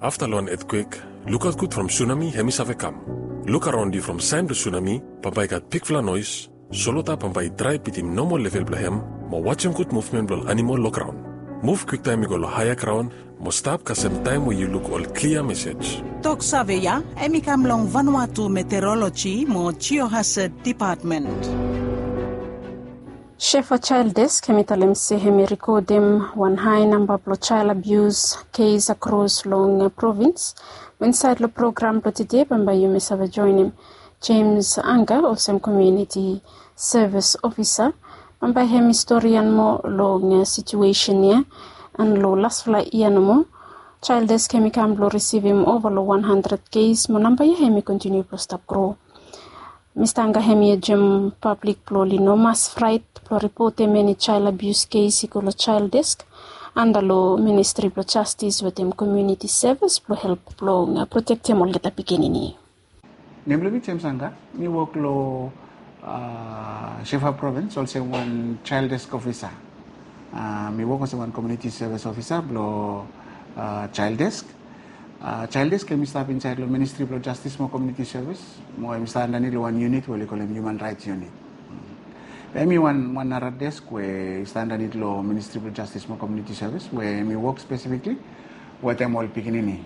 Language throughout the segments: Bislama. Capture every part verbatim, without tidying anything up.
Afta long wan etkwek, lukaot gud from sunami hem i save kam. Luk araon yu from saen blong sunami, bambae i gat bigfala noes, solwota bambae i drae bitim nomol level blong hem, mo wajem gud muvmen blong ol animol long graon. Muv kwiktaem i go long haea graon, mo stap kasem taem we yu luk ol klia mesej. Tok save ya hem i kam long Vanuatu Meteorology mo Geohazard Department. Shefa Child Desk hem i talem se hem i rikodem wan hae namba blong child abuse kes akros long provins. Mo insaed long program blong tede bambae yumi save joenem James Anga olsem komuniti sevis ofisa. Bambae hem i storian moa long situesen ya. An long lasfala yia nomo, Child Desk hem i kam blong risivim ova long wan handred kes mo namba ya hem i kontiniu blong stap gro. Mista Anga hem i ajem pablik blong oli no mas fraet blong ripotem eni child abuse kes i go long Child Desk anda long Ministri blong Jastis wetem Komuniti Sevis blong help blong protektem olgeta pikinini. Nem blong mi James Anga, mi wok long Shefa Provins olsem wan Child Desk ofisa. Mi wok olsem wan komuniti sevis ofisa blong Child Desk. Child Desk hem i stap insaed long Ministri blong Jastis mo Komuniti Sevis, mo hem i stap andanit long wan yunit we oli kolem Human Rights Unit. Be hem i wan nara desk we i stap andanit long Ministri blong Jastis mo Komuniti Sevis we hem i wok spesifikli wetem ol pikinini.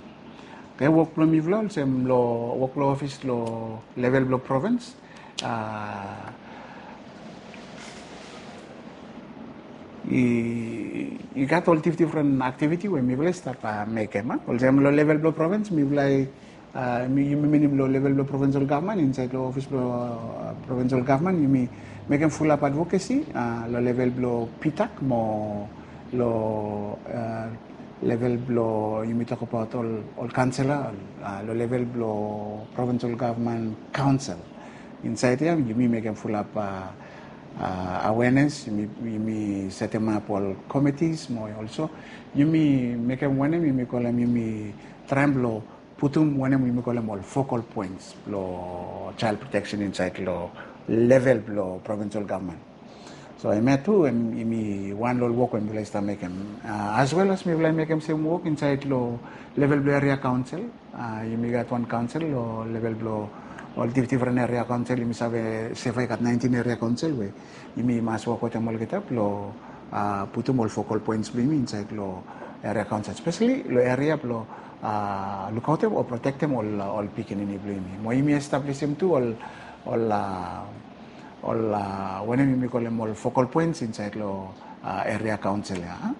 Oke, wok blong mifala olsem long wok blong ofis long level blong provins, i gat ol difdifren aktiviti we mifala i stap mekem. Olsem long level blong provins mifala i, yumi minim long level blong provinsol gavman insaed long ofis blong provinsol gavman yumi mekem fulap advokesi long level blong PTAC mo long level blong yumi tokbaot ol kaonsela long level blong provinsol gavman kaonsel. Insaed ya yumi mekem fulap awenes, yumi setemap ol komitis mo olso yumi mekem wanem yumi kolem yumi traem blong putum wanem yumi kolem ol focal points blong child protection insaed long level blong provinsol gavman. So hemia tu hem i wan long ol wok we mifala i stap mekem. As well as mifala i mekem sem wok insaed long level blong eria kaonsel. Yumi gat wan kaonsel long level blong ol difdifren eria kaonsel. Yumi save Shefa i gat naentin eria kaonsel we yumi mas wok wetem olgeta blong putum ol focal points blong yumi insaed long eria kaonsel, speseli long eria blong lukaotem o protektem ol pikinini blong yumi. Mo yumi establisim tu ol ol ol wanem yumi kolem ol focal points insaed long eria kaonsel ya.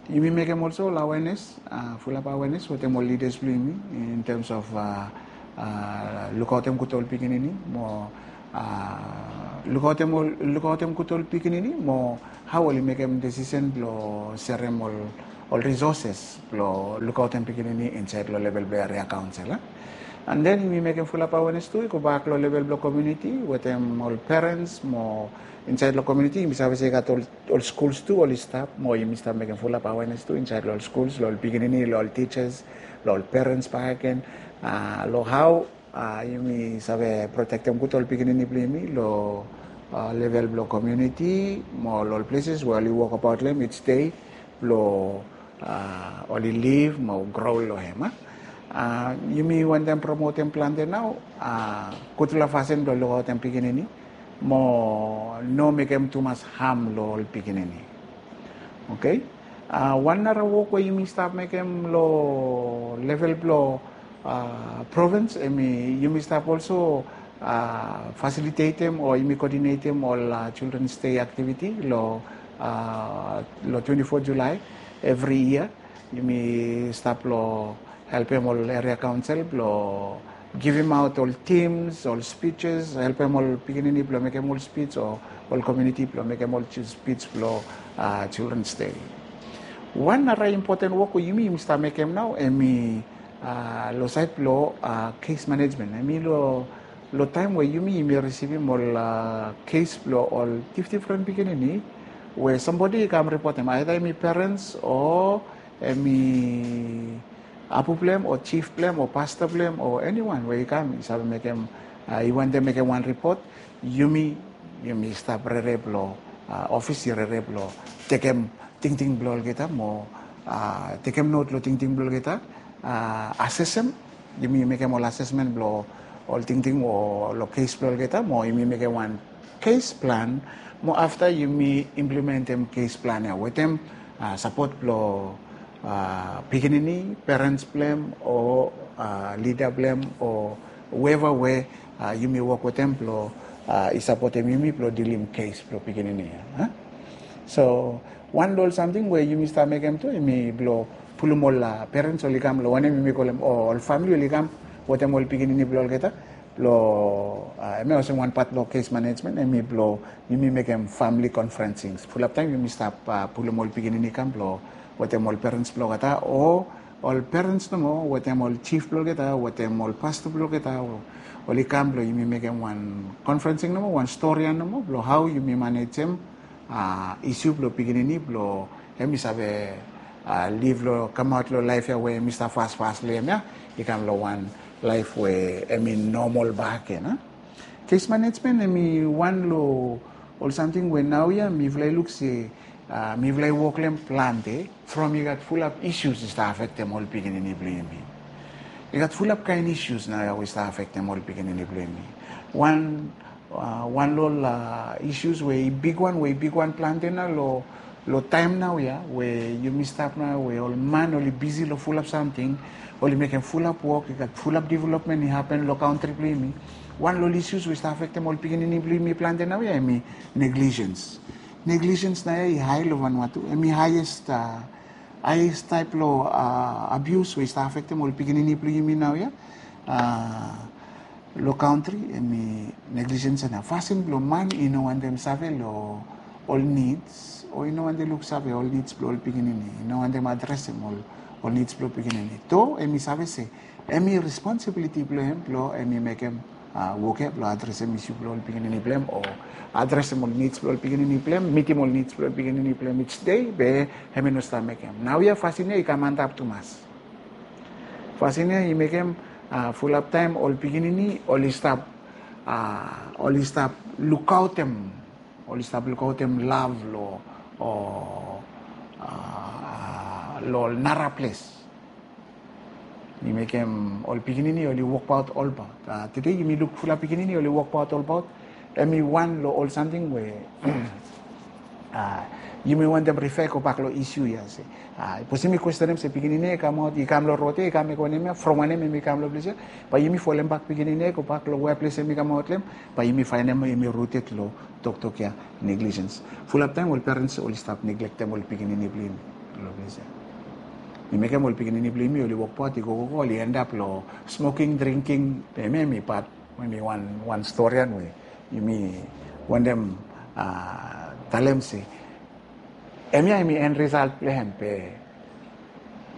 Yumi mekem olso ol awenes, fulap awenes wetem ol lidas blong yumi in terms of lukaotem gud ol pikinini mo lukaotem gud ol pikinini mo hao oli mekem desisen blong serem ol ol risoses blong lukaotem pikinini insaed long level blong eria kaonsel. An den yumi mekem fulap awenes tu i gobak long level blong komuniti wetem ol perens mo insaed long komuniti yumi save se i gat ol skuls tu oli stap mo yumi stap mekem fulap awenes tu insaed long ol skuls long ol pikinini long ol tisas long ol perens bakegen long hao yumi save protektem gud ol pikinini blong yumi long level blong komuniti mo long ol pleses we oli wokbaot long hem ij dei blong oli liv mo gro long hem. Yumi wantem promotem plante nao gudfala fasin blong lukaotem pikinini mo no mekem tumas ham long ol pikinini. Oke. Wan nara wok we yumi stap mekem long level blong provins hem i yumi stap olso fasilitetem o yumi koodinetem ol Children's Day aktiviti long long twenti fo Julae evri yia. Yumi stap long helpem ol eria kaonsel blong givimaot ol tims ol spijis, helpem ol pikinini blong mekem ol spij o ol komuniti blong mekem ol spij blong Children's Day. Wan nara impoten wok we yumi yumi stap mekem nao hem i long saed blong kes manejmen. Hem i long taem we yumi yumi risivim ol kes blong ol difdifren pikinini we sambodi i kam ripotem aeda hem i perens o hem i apu blong hem o jif blong hem o pasta blong hem o eniwan we i kam i save mekem i wantem mekem wan ripot. Yumi yumi stap rere blong ofis i rere blong tekem tingting blong olgeta mo Tekem not long tingting blong olgeta, asesem, yumi mekem ol asesmen blong ol tingting o long kes blong olgeta, mo yumi mekem wan kes plan, mo afta yumi implementem kes plan ya wetem sapot blong pikinini, perens blong hem o lida blong hem o whoever we yumi wok wetem blong i sapotem yumi blong dilim kes blong pikinini ya. So wan long ol samting we yumi stap mekem tu hemi blong pulum ol perens oli kam long wanem yumi kolem o ol famili oli kam wetem ol pikinini blong olgeta blong hemia olsem wan pat blong kes manejmen hemi blong yumi mekem famili konfrensing. Fulap taem yumi stap pulum ol pikinini kam blong wetem ol perens blong olgeta o ol perens nomo wetem ol jif blong olgeta wetem ol pasta blong olgeta oli kam blong yumi mekem wan konfrensing nomo, wan stori ya nomo blong hao yumi manejem isu blong pikinini blong hemi save liv long kamaot long laef ya we hemi stap fasfas long hem ya i kam long wan laef we hemi nomol bak gen. Kes manejmen hemi wan long ol samting we naoia mifala i luk se mifala i wok long hem plante from i gat fulap isus i stap afektem ol pikinini blong yumi. I gat fulap kaen isus naoia we i stap afektem ol pikinini blong yumi. Wan wan long ol isus we i bigwan we i bigwan plante nao long taem naoia we yumi stap nao we ol man oli bisi long fulap samting, oli mekem fulap wok, i gat fulap developmen i hapen long kantri blong yumi. Wan long ol isus we i stap afektem ol pikinini blong yumi plante naoia hemi neglijens. Neglijens naoia i hae long Vanuatu, hemi haes haes taep long abius we i stap afektem ol pikinini blong yumi naoia long kantri. Hemi neglijens ya na fasin blong man i no wantem save long ol nids o i no wantem luksave ol nids blong ol pikinini, i no wantem adresem ol nids blong pikinini. To hemi save se hemi responsibiliti blong hem blong hemi mekem wok ya blong adresem isu blong ol pikinini blong hem o adresem ol nids blong ol pikinini blong hem, mitim ol nids blong ol pikinini blong hem each day, be hemi no stap mekem. Naoia fasin ya i kam antap tumas. Fasin ya i mekem fulap taem ol pikinini oli stap oli stap lukaotem oli stap lukaotem lav long long ol nara ples. I mekem ol pikinini oli wokbaot olbaot. Tede yumi luk fulap pikinini oli wokbaot olbaot. Hemi wan long ol samting we yumi wantem rifa i gobak long isu ya se sapos yumi kwestenem se pikinini ya i kamaot i kam long rod ya i kam mekem wanem ya, from wanem hemi kam long ples ya, bae yumi folem bak pikinini ya i gobak long wea ples hemi kamaot long hem, bae yumi faenem hemi ruted long toktok ya, neglijens. Fulap taem ol perens oli stap neglektem ol pikinini blong yumi long ples ya. I mekem ol pikinini blong yumi oli wokbaot i gogogo oli endap long smoking, drinking, hemia hemi pat hemi wan storian we yumi wantem talem se hemia hemi en risalt blong hem be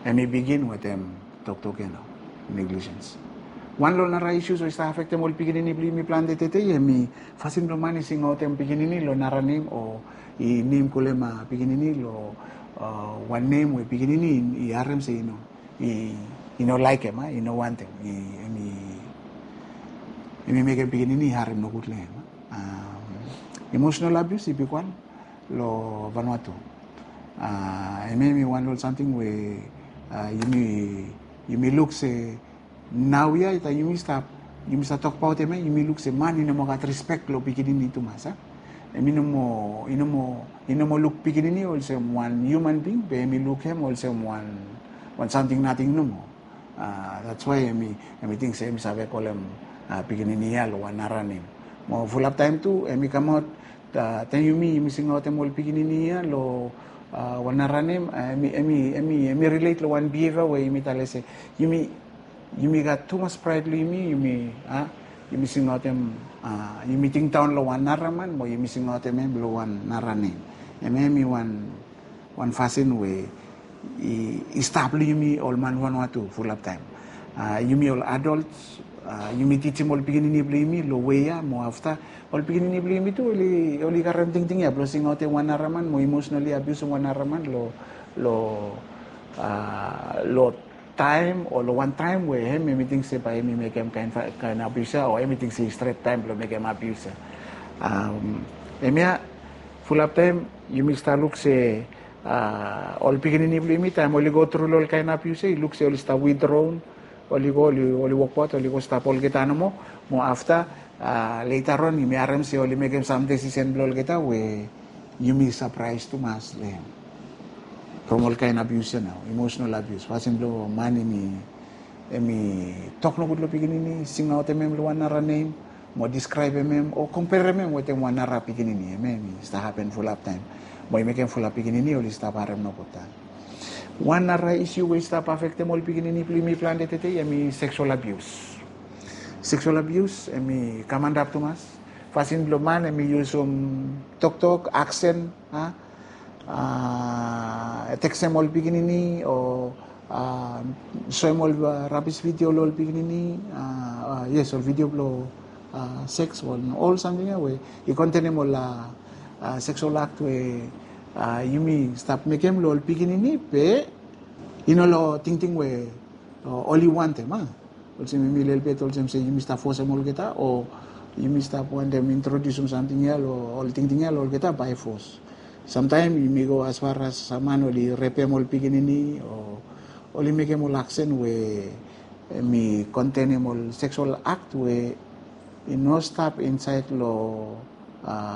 hemi bigin wetem toktok ya nao, neglijens. Wan long nara isus we i stap afektem ol pikinini blong yumi plante tede hemi fasin blong man i singaotem pikinini long nara nem o i nem kolem pikinini long wan nem we pikinini i harem se i no i no laekem, i no wantem, hemi mekem pikinini i harem nogud long hem. Emotional abuse i bigwan long Vanuatu. Hemia hemi wan long ol samting we yumi luk se naoia taem yumi stap yumi stap tokbaot hemia yumi luk se man i no moa gat rispek long pikinini tumas. Hemi no moa i no moa i no moa luk pikinini olsem wan hiuman bing be hemi luk hem olsem wan wan samting nating nomo. That's why hemi hemi ting se hemi save kolem pikinini ya long wan nara nem. Mo fulap taem tu hemi kamaot taem yumi yumi singaotem ol pikinini ya long wan nara nem, hemi hemi hemi hemi relate long wan behavior we yumi talem se yumi yumi gat tumas praed long yumi, yumi a yumi singaotem yumi tingdaon long wan nara man mo yumi singaotem hem long wan nara nem. Hemia hemi wan wan fasin we i stap long yumi ol man Vanuatu fulap taem. Yumi ol adolt yumi tijim ol pikinini blong yumi long wei ya mo afta ol pikinini blong yumi tu oli karem tingting ya blong singaotem wan nara man mo imosonali abiusim wan nara man long long long taem o long wan taem we hem hemi ting se bae hemi mekem kaen kaen abius ya o hemi ting se i stret taem blong mekem abius ya. Hemia fulap taem yumi stap luk se ol pikinini blong yumi taem oli go tru long ol kaen abius ya, i luk se oli stap widraon, oli go oli wokbaot, oli go stap olgeta nomo. Mo afta, leta on yumi harem se oli mekem sam desisen blong olgeta we yumi sapraes tumas long hem. From ol kaen abius ya nao, imosonal abius, fasin blong man hem i tok nogud long pikinini, singaotem hem long wan nara nem, mo diskraebem hem o komperem hem wetem wan nara pikinini, hemia hem i stap hapen fulap taem. Mo i mekem fulap pikinini oli stap harem nogud taem. Wan nara isiu we i stap afektem ol pikinini blong yumi plante tede hem i seksual abius. Seksual abius hem i kam antap tumas. Fasin blong man hem i yusum toktok, aksen, a, teksem ol pikinini o soem ol rabis vidio long ol pikinini. Yes, ol vidio blong seks o ol samting ya we i kontenem ol seksual akt we yumi stap mekem long ol pikinini be i no long tingting we oli wantem, a. Olsem yumi lelebet olsem se yumi stap fosem olgeta o yumi stap wantem introdiusim samting ya long ol tingting ya long olgeta bae fos. Samtaem yumi go asfar as man oli repem ol pikinini o oli mekem ol aksen we hem i kontenem ol seksual akt we i no stap insaed long,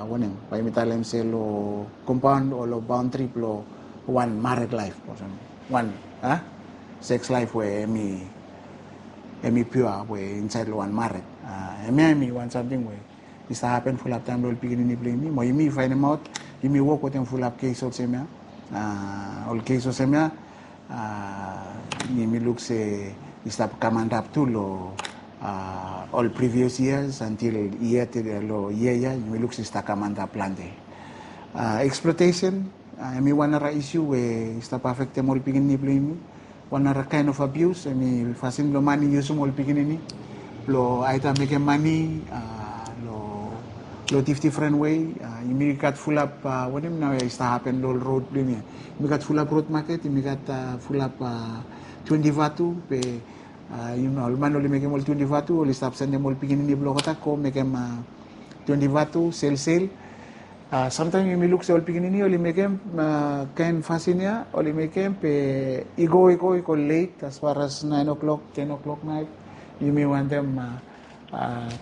wanem, bae yumi talem se long kompaon o long baondri blong wan mared laef, olsem wan seks laef we hem i piua we insaed long wan mared. Hemia hem i wan samting we i stap hapen fulap taem long ol pikinini blong yumi, mo yumi faenemaot, yumi wok wetem fulap kes olsem ya. Ol kes olsem ya, yumi luk se i stap kam antap tu long ol previous years antil yia tede long yia ya yumi luk se i stap kam antap plante. Exploitation hem i wan nara isiu we i stap afektem ol pikinini blong yumi. Wan nara kaen of abius hem i fasin blong man i yusum ol pikinini blong aeda mekem mane long difdifren wei. Yumi gat fulap wanem nao ya i stap hapen long ol rod blong yumi ya. Yumi gat fulap rod maket, yumi gat fulap twenti vatu, be ol man oli mekem ol twenti vatu oli stap sendem ol pikinini blong olgeta go mekem twenti vatu selsel. Samtaem yumi luk se ol pikinini oli mekem kaen fasin ya, oli mekem be i go i go i go let asfar as naen o'clock, ten o'clock naet. Yumi wantem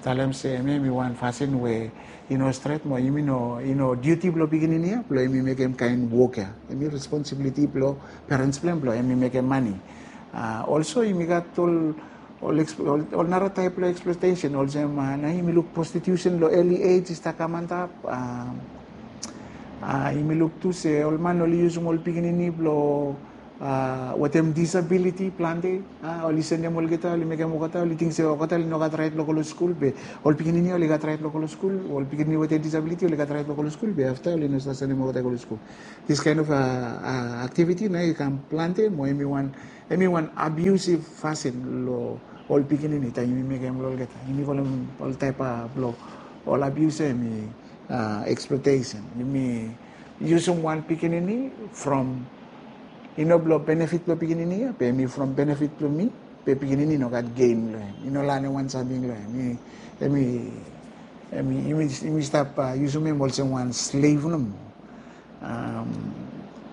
talem se hemia hem i wan fasin we i no stret mo yumi no, i no diuti blong pikinini ya blong hem i mekem kaen wok ya. Hem i responsibiliti blong perens blong hem blong hem i mekem mane. Olso yumi gat ol ol nara taep blong eksploitesen olsem nao yumi luk prostitusen long eli ej i stap kam antap. Yumi luk tu se ol man oli yusum ol pikinini blong wetem disabiliti plante. Oli sendem olgeta, oli mekem olgeta, oli ting se olgeta oli no gat raet blong go long skul be ol pikinini ya oli gat raet blong go long skul, ol pikinini wetem disabiliti oli gat raet blong go long skul be afta oli no save sendem olgeta go long skul. Dis kaen of aktiviti nao i kam plante mo hem i wan hem i wan abiusiv fasin long ol pikinini taem yumi mekem long olgeta. Yumi kolem ol taep blong ol abius ya hem i eksploitesen. Yumi yusum wan pikinini from i no blong benefit blong pikinini ya be hem i from benefit blong mi, be pikinini i no gat gen long hem, i no lanem wan samting long hem. Hem i hem i yumi stap yusum hem olsem wan slev nomo.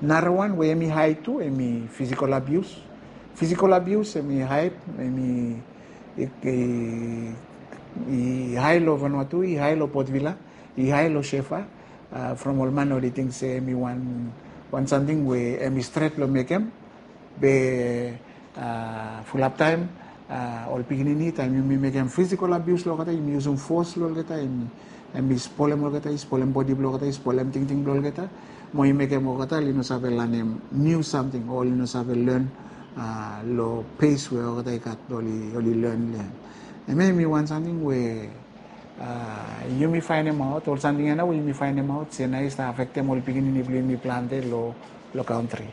Nara wan we hem i hae tu hem i fisikol abius. Fisikol abius hem i hae, hem i hae long Vanuatu, i hae long Port Vila, i hae long Shefa. From ol man oli ting se hem i wan wan samting we hem i stret long mekem. Be fulap taem ol pikinini taem yumi mekem fisikol abius long olgeta, yumi yusum fos long olgeta, hem i spolem olgeta, i spolem bodi blong olgeta, i spolem tingting blong olgeta, mo i mekem olgeta oli no save lanem niu samting o oli no save len long pes we olgeta i gat oli len long hem. Hemia hem i wan samting we yumi faenemaot, ol samting ya nao we yumi faenemaot se nao i stap afektem ol pikinini blong yumi plante long kantri.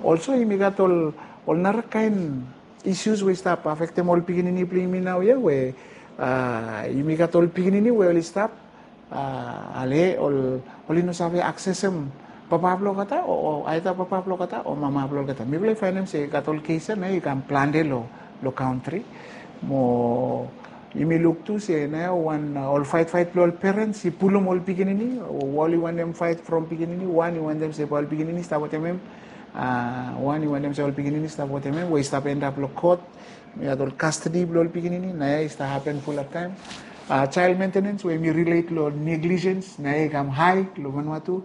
Olso yumi gat ol ol nara kaen isius we i stap afektem ol pikinini blong yumi naoia we yumi gat ol pikinini we oli stap ale ol oli no save aksesem papa blong olgeta o aeda papa blong olgeta o mama blong olgeta. Mifala i faenem se i gat ol kes ya nao i kam plante long kantri. Mo Yumi luk tu se naoia wan, uh, ol faet faet blong ol perens i pulum ol pikinini, wan i wantem faet from pikinini, wan i wantem se bae ol pikinini stap wetem hem, uh, wan i wantem se ol pikinini stap wetem hem, we i stap endap long kot, we i gat ol kastedi blong ol pikinini, naoia i stap hapen fulap taem. Uh, child maintenance we yumi relate long negligence, naoia i kam hae long Vanuatu.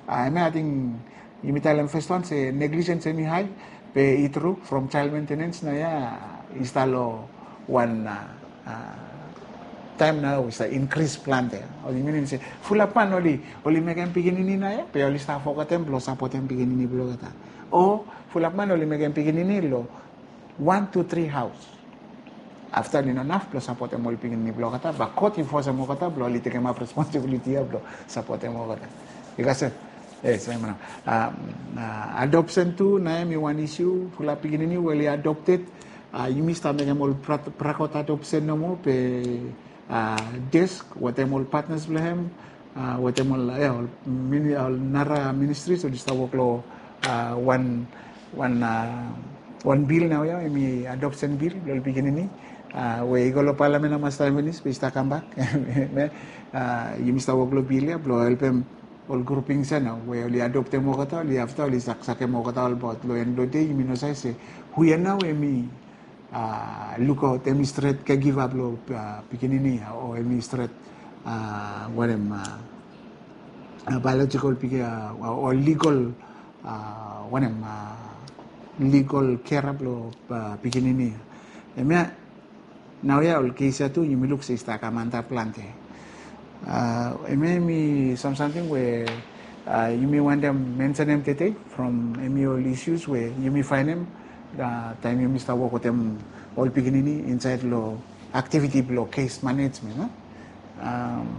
Uh, hemia ating yumi talem fes wan se negligence hemi hae, be i tru from child maintenance naoia i stap long wan, uh, uh, taem naoia we i stap inkris plante. Oli minim se fulap man oli, oli mekem pikinini naoia, be oli stap fogetem blong sapotem pikinini blong olgeta. O fulap man oli mekem pikinini long wan tu tri haos. Afta oli no naf blong sapotem ol pikinini blong olgeta, be kot i fosem olgeta blong oli tekemap responsibiliti ia blong sapotem olgeta. Yu kasem? Yes, hemia nao. Um, uh, adoption tu naoia hemi wan issue, fulap pikinini we oli adopted. Uh, yumi stap mekem ol pra-, prakot adoption nomo, be, uh, desk wetem ol partners blong hem, uh, wetem ol, ia, ol mini-, ol nara ministries oli stap wok long, uh, wan, wan, uh, wan bil naoia, hemi adoption bil blong ol pikinini, uh, we i go long palamen nao mas taem finis, be i stap kambak. Uh, yumi stap wok long bil ia blong helpem ol groupings ia nao we oli adoptem olgeta, oli afta oli sak-, sakem olgeta olbaot. Long en blong dei yumi no save se hu ia nao hemi, uh, lukaot, hemi stret caregiver blong, uh, pikinini ia, o hemi stret, uh, wanem, uh, uh, biological piki-, uh, o legal, uh, wanem, uh, legal carer blong, uh, pikinini ia. Hemia naoia ol kes ia tu yumi luk se i stap kam antap plante. Uh, hemia hemi sam-, samting we, uh, yumi wantem mensenem tede from hemi ol issues we yumi faenem, uh, taem yumi stap wok wetem ol pikinini insaed long aktiviti blong kes manejmen, no? Um,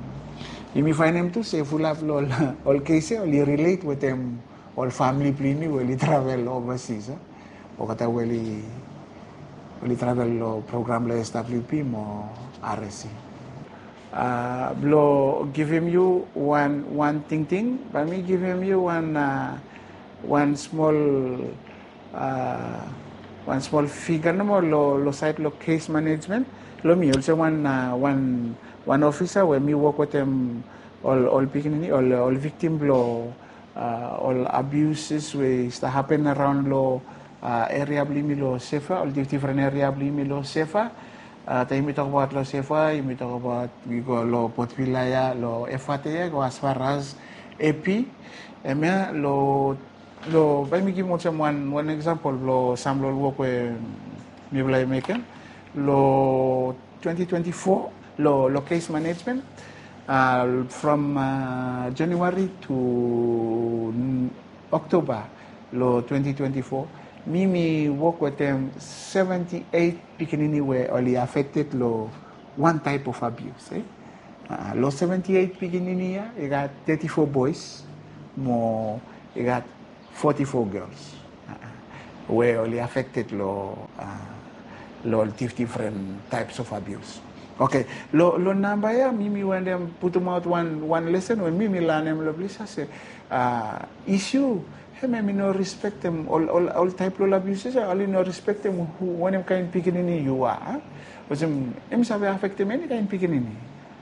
yumi faenem tu se fulap long ol, ol kes ia oli relate wetem ol famili blong yumi we oli travel overseas, eh? Olgeta we oli, oli travel long program blong S W P mo R S C. Uh, blong givim yu wan, wan tingting, bae mi givim yu wan, uh, wan smol, uh, wan smol figa nomo long, long saed long kes manejmen. Long mi olsem wan, uh, wan, wan ofisa we mi wok wetem ol, ol pikinini, ol, ol viktim blong, uh, ol abuses we i stap hapen araon long, uh, eria blong yumi long Sefa, ol dif-, difren eria blong yumi long Sefa. Uh, taem yumi tokbaot long Sefa, yumi tokbaot, yumi go long Port Vila ia, long Efate ia, go as far as Epi. Hemia long, long, bae mi givim olsem wan, wan eksampol blong sam long ol wok we mifala i mekem. Long twenty twenty-four, long, long kes manejmen, uh, from, uh, January to, mm, October long twenty twenty-four, mi, mi wok wetem seventy-eight pikinini we oli affected long wan type of abuse, eh? Uh, long seventy-eight pikinini ia, i gat thirty-four boys, mo i gat forty-four girls, uh, we oli affected long, uh, long dif-, difren types of abuse. Okay, long, long namba ia, mi, mi wantem putumaot wan, wan lesen we mi, mi lanem long ples ia se, uh, issue, hemia hemi no respektem ol, ol, ol type blong ol abuses ia, oli no respektem hu, wanem kaen pikinini yu are, eh? Olsem, hemi save affectem eni kaen pikinini.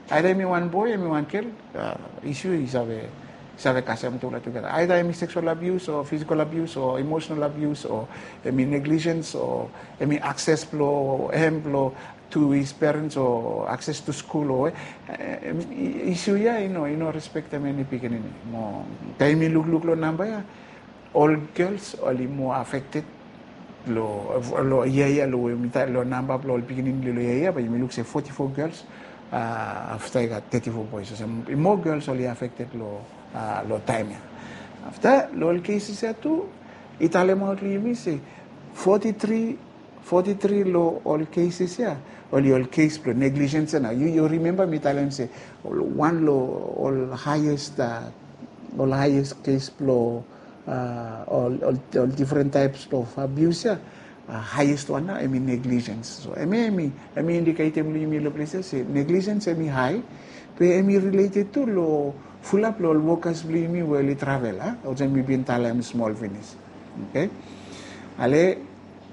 Aida hemi wan boy, hemi wan gel, uh, issue i save, save kasem tugeta tugeta. Aida hemi sexual abuse o physical abuse o emotional abuse o hemi negligence o hemi access blong hem blong to his parents o access to school o, eh, em, i-, issue ia i no, i no respektem eni pikinini. Mo taem mi lukluk long namba ia, ol gels oli moa affected long, long yia ia, long we mi talem long namba blong ol pikinini long yia ia, bae yumi luk se forty-four gels, uh, afta i gat thirty-four boys. Olsem i moa gels oli affected long, uh, long taem ia. Afta long ol cases ia tu, i talemaot long yumi se forty-three, forty-three long ol cases ia oli ol kes blong negligence ia. Nao yu, yu rimemba mi talem se ol, wan long ol highest, uh, ol highest kes blong, uh, ol, ol, ol different types of abuse ia, uh, highest wan nao hemi negligence. So hemi, hemi, hemi indiketem long yumi long ples ia se negligence hemi hae, be hemi related tu long fulap long ol wokas blong yumi we oli travel, a? Olsem mi bin talem smol finis. Okay? Ale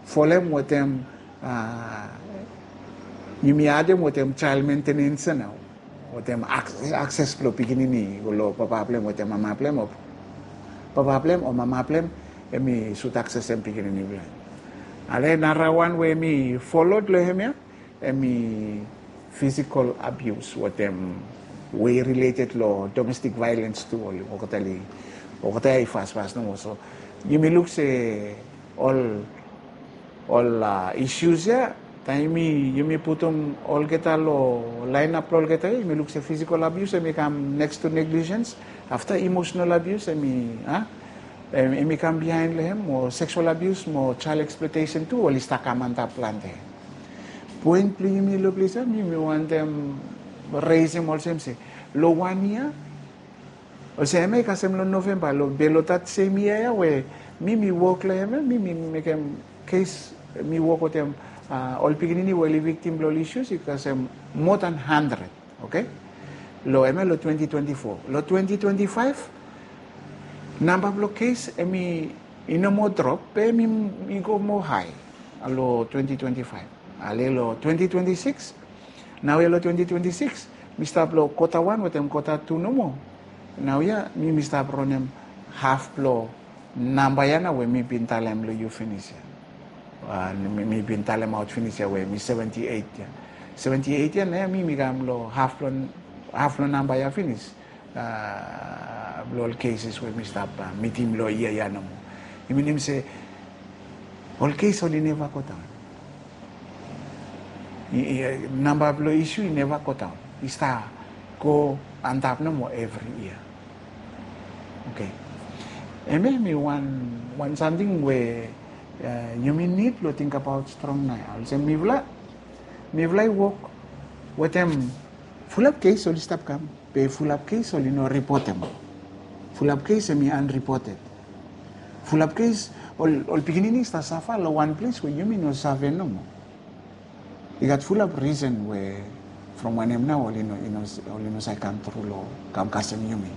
folem wetem, uh, Yumi adem wetem child maintenance ya nao, wetem akses blong pikinini i go long papa blong hem wetem mama blong hem, o papa blong hem o mama blong hem, hemi sud aksesem pikinini blong hem. Ale nara wan we hemi folod long hemia, hemi physical abuse wetem we i related long domestic violence tu. Oli olgeta i fasfas nomo. So yumi luk se ol ol issues ya, taem yumi putum olgeta long laenap blong olgeta ya, yumi luk se physical abuse hemi kam next to negligence. Afta emotional abuse hemi kam bihaen long hem, mo sexual abuse mo child exploitation tu oli stap kam antap plante. Poen blong yumi long ples ya, yumi wantem resem olsem se long wan yia, olsem hemia i kasem long Novemba, be long dat sem yia ya we mi mi wok long hemia, mi mi mekem kes, mi wok wetem ol pikinini we oli viktim blong ol issues i kasem moa dan handred. Oke, long hemia long twenty twenty four. Long twenty twenty five, namba blong kes hemi i no moa drop, be hemi i go moa hae long twenty twenty five. Ale long twenty twenty six, naoia long twenty twenty six mi stap long kota wan wetem kota tu nomo. Naoia mi mi stap ronem haf blong namba ya nao we mi bin talem long yu finis ya. Mi bin talemaot finis ya we mi seventy eight ya. Seventy eight ya, naoia mi mi kam long haf blong namba ya finis blong ol cases we mi stap mitim long yia ya nomo. I minim se ol kes oli neva go daon. Namba blong isu i neva go daon, i stap go antap nomo evri yia. Oke, hemia hemi wan samting we yumi nid long tingbaot strong naoia. Olsem mifala, mifala i wok wetem fulap kes oli stap kam, be fulap kes oli no ripotem. Fulap kes hemi unreported. Fulap kes ol pikinini i stap safa long wan ples we yumi no save nomo. I gat fulap risen we from wanem nao oli no save kam tru long kam kasem yumi.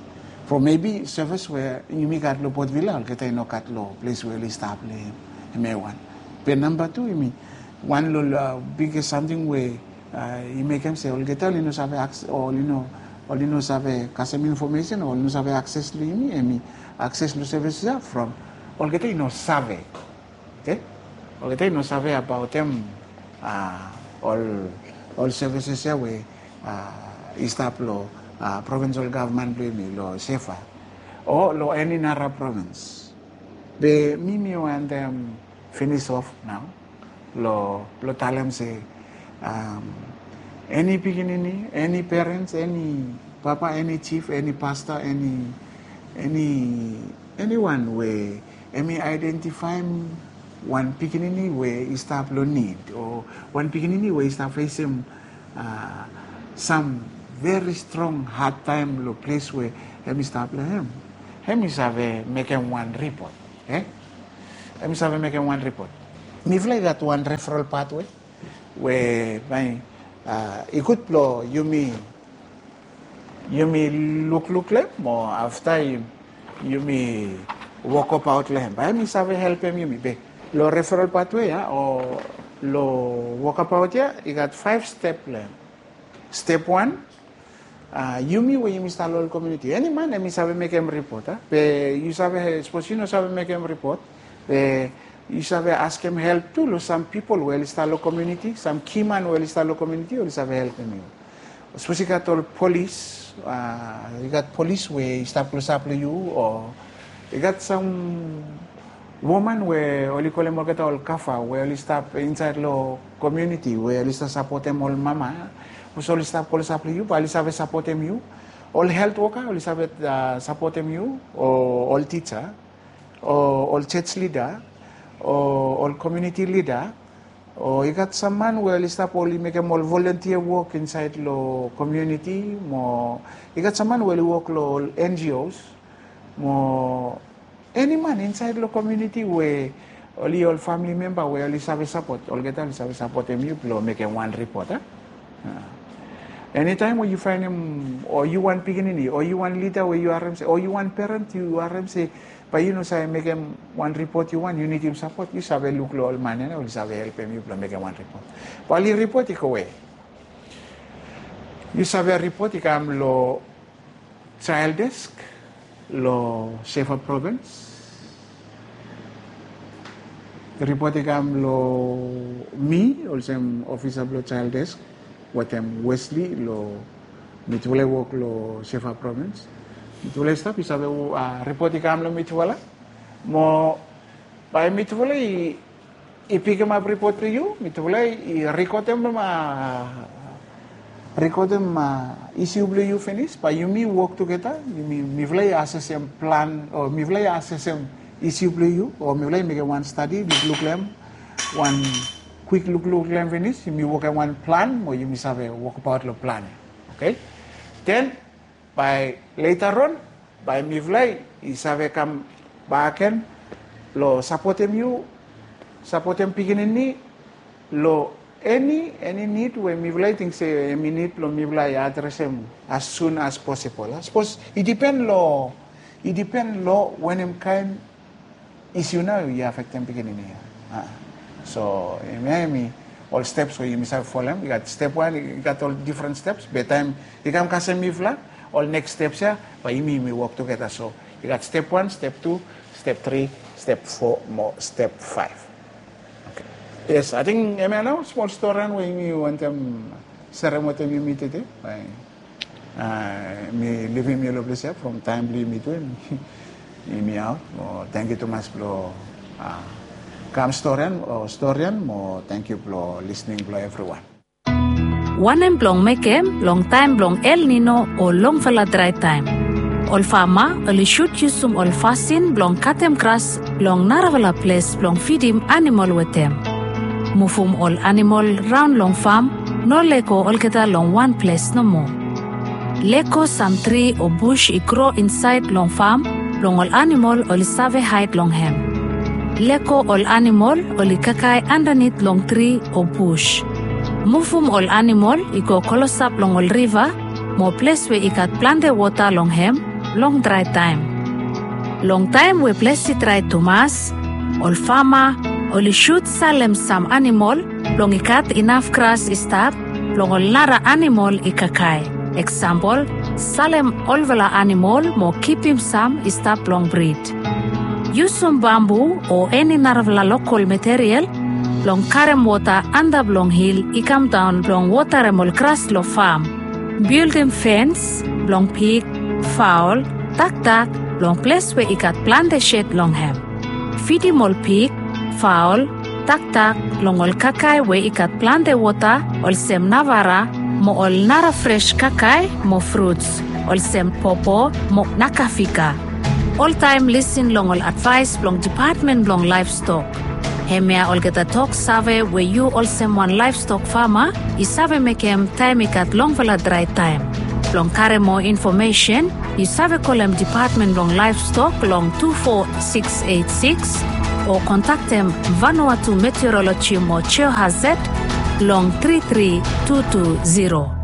From mebi sevis we yumi gat long Port Vila olgeta i no gat long ples we oli stap long hem. Hemia wan. Be namba tu, hemi wan long biges samting we i mekem se olgeta oli no save, oli no save kasem infomesen o oli no save akses long yumi, hemi akses long sevis ya from olgeta i no save. Oke, olgeta i no save abaotem ol sevises ya we i stap long provinsal gavman blong yumi long SEFA o long eni nara provins. Be mi mi wantem finis of nao long talem se eni pikinini, eni perens, eni papa, eni jif, eni pasta, eni eniwan we hemi aedentifaem wan pikinini we i stap long nid o wan pikinini we i stap fesem sam veri strong hadtaem long ples we hemi stap long hem, hemi save mekem wan ripot. Hemi save mekem wan ripot. Mifala i gat wan referal patwe we bae i gud blong yumi yumi lukluk long hem, mo afta yumi wokabaot long hem, bae hemi save helpem yumi. Be long referal patwe ya o long wokabaot ya i gat faef step long hem. Step wan, yumi we yumi stap long ol komuniti, eni man hemi save mekem ripot. Be yu save, sapos yu no save mekem ripot, be yu save askem help tu long sam pipol we oli stap long komuniti, sam kiman we oli stap long komuniti oli save helpem yu. Sapos i gat ol polis, i gat polis we i stap klosap long yu, o i gat sam woman we oli kolem olgeta ol kafa we oli stap insaed long komuniti we oli stap sapotem ol mama, sapos oli stap klosap long yu bae oli save sapotem yu. Ol helt woka oli save sapotem yu, o ol tija, o ol jos lida, o ol komuniti lida, o i gat sam man we oli stap oli mekem ol volontia wok insaed long komuniti, mo i gat sam man we oli wok long ol NGOs, mo eni man insaed long komuniti we oli ol famili memba we oli save sapot, olgeta oli save sapotem yu blong mekem wan ripot. Enitaem we yu faenem o yu wan pikinini o yu wan lida we yu harem se, o yu wan peren yu harem se bae yu no save mekem wan ripot yu wan, yu nidim sapot, yu save luk long ol man ya nao oli save helpem yu blong mekem wan ripot. Bae oli ripot i gowe. Yu save ripot i kam long Child Desk long Shefa Provins. Ripot i kam long mi olsem ofisa blong Child Desk wetem Wesley long mitufala i wok long Shefa Provins. Mitufala i stap i save ripot i kam long mitufala. Mo bae mitufala i i pikimap ripot blong yu, mitufala i rekodem, rekodem isiu blong yu finis, bae yumi wok tugeta, yumi, mifala i asesem plan o mifala i asesem isiu blong yu o mifala i mekem wan stadi, lukluk long hem, wan kwik lukluk long hem finis, yumi wokem wan plan mo yumi save wokbaot long plan ya. Oke? Den bae leta on bae mifala i save kam bak gen long sapotem yu, sapotem pikinini long eni, eni nid we mifala i ting se hem i nid blong mifala i adresem as soon as possible. Sapos i dipen long, i dipen long wanem kaen isiu nao i afektem pikinini ya. So hemia hemi ol steps we yumi save folem. I gat step wan, i gat ol difren steps, be taem i kam kasem mifala, ol neks steps ya bae yumi, yumi wok tugeta. So i gat step wan, step tu, step tri, step fo mo step faef. Oke. Yes, ating hemia nao smol storian we yumi wantem serem wetem yumi tede. Bae mi livim yu long ples ya from taem blong yumi tu, yumi aot. Mo tangkiu tumas blong kam storian o storian, mo tangkiu blong lisning blong evriwan. Wanem blong mekem long taem blong El Nino o longfala drae taem? Ol fama oli sud yusum ol fasin blong katem gras long narafala ples blong fidim anamol wetem. Muvum ol anamol raon long fam, no lego olgeta long wan ples nomo. Lego sam tri o bus i gro insaed long fam blong ol anamol oli save haed long hem. Lego ol anamol oli kakae andanit long tri o bus. Muvum ol anamol i go klosap long ol riva mo ples we i gat plante wota long hem long drae taem. Long taem we ples i drae tumas, ol fama oli sud salem sam anamol blong i gat inaf gras i stap blong ol nara anamol i kakae. Eksampol, salem olfala anamol mo kipim sam i stap blong brid. Yusum bambu o eni narafala lokol material blong karem wota antap long hil i kamdaon blong wotarem ol gras long fam. Bildim fens blong pig, faol, taktak long ples we i gat plante sed long hem. Fidim ol pig, faol, taktak long ol kakae we i gat plante wota olsem navara mo ol nara fres kakae mo fruts olsem popo mo nakafika. Oltaem lisin long ol advaes blong Dipatmen blong Laevstok. Hemia olgeta toksave we yu olsem wan laevstok fama i save mekem taem i gat longfala drae taem. Blong karem moa infomesen, yu save kolem Dipatmen blong Laevstok long tu fo siks eit siks o kontaktem Vanuatu Meteoroloji mo Geohazard long tri tri tu tu ziro.